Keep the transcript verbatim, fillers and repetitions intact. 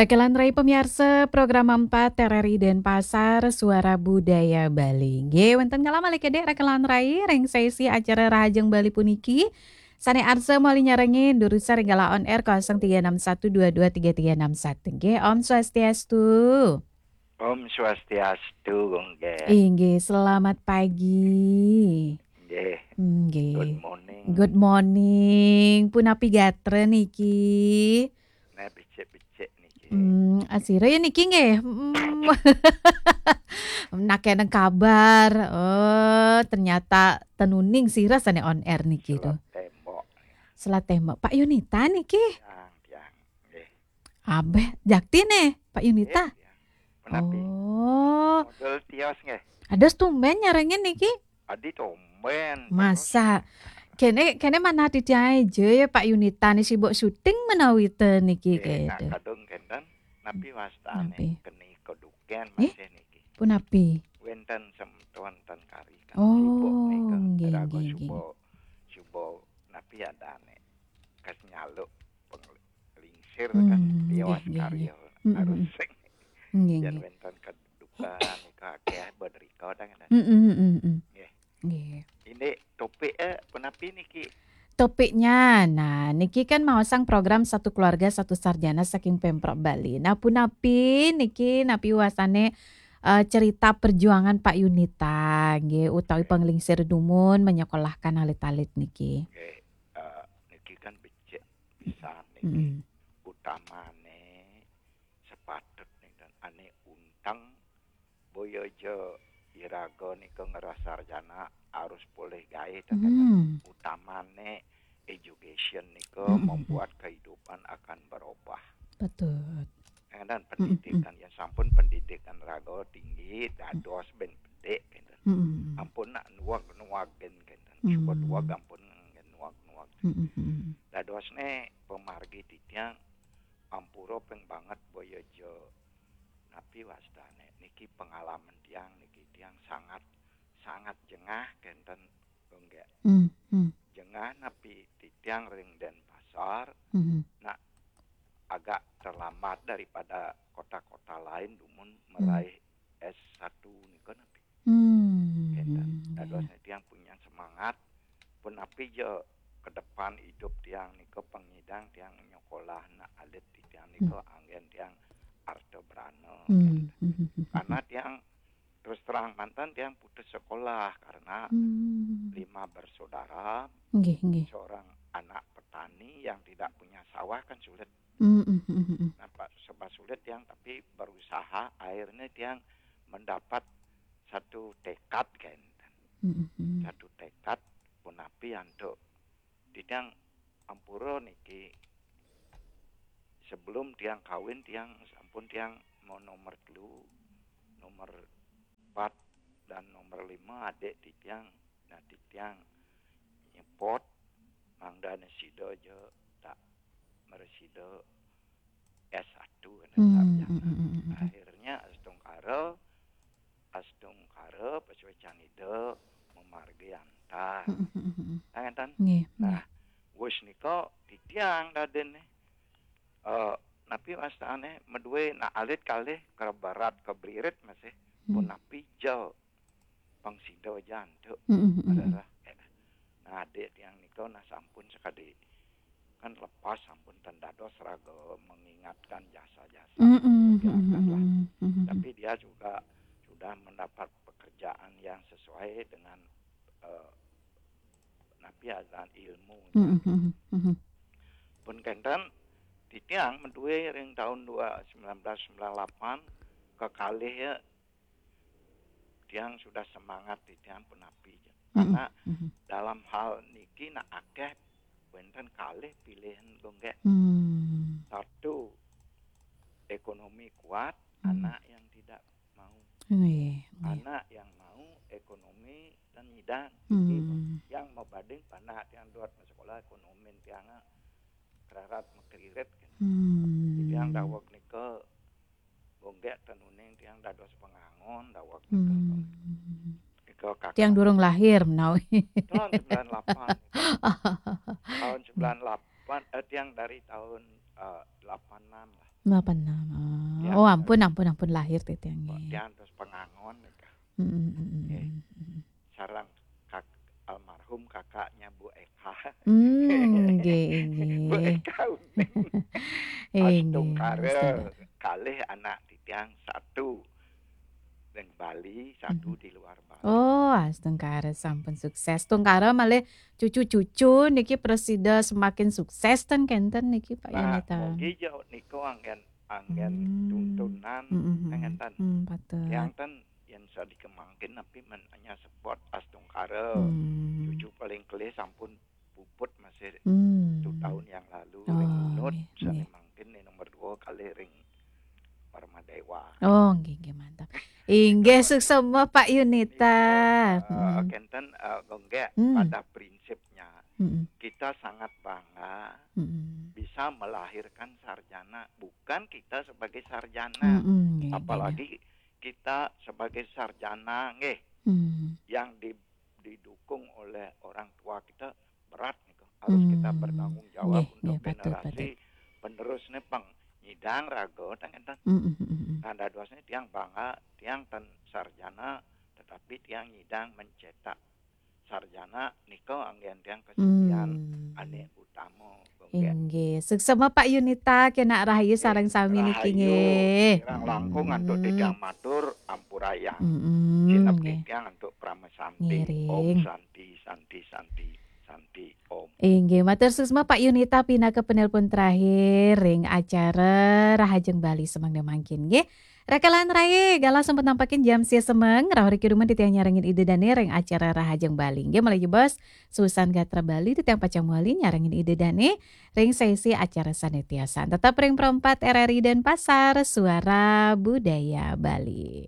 Rakelan Rai pamiarsa, program empat R R I Denpasar, Suara Budaya Bali. Nggih, wénten kala malih kedhik Rakelan Rai ring sesi acara Rahajeng Bali puniki. Sané arsa malih nyarengin durusang ring galah on air kosong tiga enam satu dua dua tiga tiga enam satu. Nggih, Om Swastiastu. Om Swastiastu, Gung Gé. Inggih, selamat pagi. Nggih. Nggih. Good morning. Good morning. Punapi gatra niki? Nah, becik-becik niki. Hmm, asira ya niki nggih. Hmm. Nak eneng kabar. Oh, ternyata ten uning sira sané on air niki to. Selat tembok. Selat tembok. Pak Yunita niki. Tiang, tiang. Nggih. Abeh, jakti nih, Pak Yunita. Nggih, tiang. Punapi? Oh. Model tios nggih. Ada tumben nyarengin niki. Adi tumben. Masa? Kene, kene manah titiang aja ya, Pak Yunita nih sibuk syuting menawi ten niki. Nggih, nah, kene. Kadung kenten, napi wastane? Napi? Keni keduken. Eh? Masih niki. Punapi? Wenten semeton ten kari kan. Oh, sibuk nika. Nggih, raga nggih, nggih. Suba, suba napi adane? Kas nyaluk penglingsir kan. Hmm, tiwas nggih, nggih, karya, nggih. Hmm, harus hmm. Sing. Nggih, nggih. Yen wenten keduken nika akeh benerika dah. Hmm, hmm, hmm, hmm. Nggih. Nggih. Ini topik, eh, punapi niki? Topiknya, nah, niki kan maosang program Satu Keluarga Satu Sarjana saking Pemprov Bali. Nah, punapi niki, napi wasane, eh, cerita perjuangan Pak Yunita, nggih, utawi penglingsir dumun menyekolahkan alit-alit niki. Nggih, eh, niki kan becik pisan niki. Mm-mm. Utamane sepatut nih kan ane unteng boya ja iraga nika ngerah sarjana harus polih gawe. Hmm. Utamane education nika. Mm-mm. Membuat kehidupan akan berubah. Betul. Dan pendidikan, mm-mm, ya sampun pendidikan raga tinggi, dados ben bedik, gitu. Mm-mm. Ampun nak nuwag-nuwagin, gitu. Mm. Suba nuwag ampun nuwag-nuwag. Mm-mm. Dadosne pamargi titiang ampura ping banget boya ja napi wastane niki pengalaman tiang niki tiang sangat, sangat jengah kenten. Nggih. Hmm, hmm. Jengah napi titiang ring Denpasar. Hmm. Nah, agak terlambat daripada kota-kota lain dumun, hmm, meraih S satu nika napi. Hmm. Kenten. Dados tiang punya semangat punapi ja ke depan idup tiang nika pengidang tiang nyekolah nak alit tiang nika. Hmm. Anggen tiang arta brana. Hmm. Kenten. Hmm. Karena tiang terus terang mantan tiang putus sekolah karena, hmm, lima bersaudara. Nggih, nggih. Seorang anak petani yang tidak punya sawah kan sulit. Hmm, hmm, hmm, hmm. Nah, Pak, sebab sulit tiang tapi berusaha, akhirnya tiang mendapat satu tekad kan. Hmm, hmm, hmm. Satu tekad punapi antuk titiang ampura niki sebelum tiang kawin tiang sampun tiang mau nomor telu, nomor empat dan nomor lima adik titiang. Nah, titiang nyepot mangdane sida aja tak meresida S satu kan. Hmm, sarjana. Hmm, hmm, hmm, hmm. Akhirnya astungkara, astungkara pasuecan Ida memargi antar. Hmm, hmm, hmm, hmm. Nah, ngeten. Nggih, nggih. Nah, wis nika titiang dadene. Eh, napi wastane madue nak alit kalih ke barat ke blirit masih. Hmm. Punapi ja pang sida aja antuk. Mm, mm, mm, mm. Adalah, eh, nah, adik tiang nika nah sampun sekadi kan lepas sampun ten dados raga mengingatkan jasa-jasa. Mm, mm, ya, mm, mm, biarkanlah. Mm, mm, mm. Tapi dia juga sudah mendapat pekerjaan yang sesuai dengan, eh, napi aran ilmu. Mm, mm, mm, mm. Pun kenten titiang madue ring tahun dua, sembilan belas sembilan lapan kekalih ya tiang sudah semangat titiang punapi. Mm-mm. Karena, mm-mm, dalam hal niki nak akeh wenten kalih pilihan gonggek. Hmm. Satu, ekonomi kuat, hmm, anak yang tidak mau. Nggih, nggih. Anak yang mau ekonomi dan nyidang. Hmm. Yang mabading panak tiang dot sekolah ekonomi tiang kerarat makririt. Hmm. Tiang daweg nika gonggek ten uning tiang dados pengangon daweg nika. Hmm. Nika kakak. Tiang durung lahir menawi. Tahun sembilan lapan. Tahun sembilan lapan, eh, tiang dari tahun, eh, delapan enam lah. Delapan enam. Ah. Ya, oh, ampun, ampun, ampun, lahir titiang. Kok nggih. Tiang terus pengangon nika. Mm, mm, mm, mm, nggih, mm, mm. Sareng kak-, almarhum kakaknya Bu Eka. Hmm, nggih, nggih. Bu Eka Uning. Eh, nggih, astungkara, astungkara. Kalih anak titiang, satu ring Bali, satu, mhm, di luar Bali. Oh, astungkara sampun sukses. Astungkara malih cucu-cucu niki prasida semakin sukses ten kenten niki, Pak, nah, Yunita. Mugi ja nika anggen, anggen, hmm, tuntunan, mm, mm, mm, ngenten. Hmm, betul. Yang ten yen sadikemangkin napi men hanya support astungkara. Hmm. Cucu paling kelih sampun puput masih, hmm, satu tahun yang lalu, oh, ring Bunut, nggih, sane, nggih, mangkin ning nomor dua kalih ring Warmadewa. Oh, nggih, nggih, mantap. Inggih, suksma, Pak Yunita. Iya, eh, hmm, kenten, eh, nggih, hmm, pada prinsipnya, hmm, kita sangat bangga, hmm, bisa melahirkan sarjana, bukan kita sebagai sarjana. Hmm, hmm, nggih, nggih, apalagi nggih, kita sebagai sarjana, nggih, hmm, yang di-, didukung oleh orang tua kita, berat niku. Harus kita, hmm, bertanggung jawab, nggih, untuk, nggih, patut, generasi patut, penerus nih pang nyidang raga, ten ngenten. Mm, mm, mm, mm. Nah, dadosnya tiang bangga, tiang ten sarjana, tetapi tiang nyidang mencetak sarjana nika anggen tiang kesucian, hmm, ane utama, nggih. Inggih. Suksma Pak Yunita, kenak rahayu, eh, sareng sami niki, rahayu, nggih. Kirang langkung antuk, mm, titiang matur ampurayang. Mm, mm, sineb, nggih, titiang antuk parama santi. Ngiring. Om Santi, Santi, Santi, Santi, Om. Inggih, matur suksma Pak Yunita pinaka penelpon terakhir ring acara Rahajeng Bali semangda mangkin, nggih. Rakalan rae, galah sampun nampakin jam sia semeng, rauh riki dumun titiang nyarengin Ida Dane ring acara Rahajeng Bali. Nggih, malih jebos, susan gatra Bali titiang pacang mawali nyarengin Ida Dane ring sesi acara sane tiosan. Tetap ring Pro empat R R I Denpasar, Suara Budaya Bali.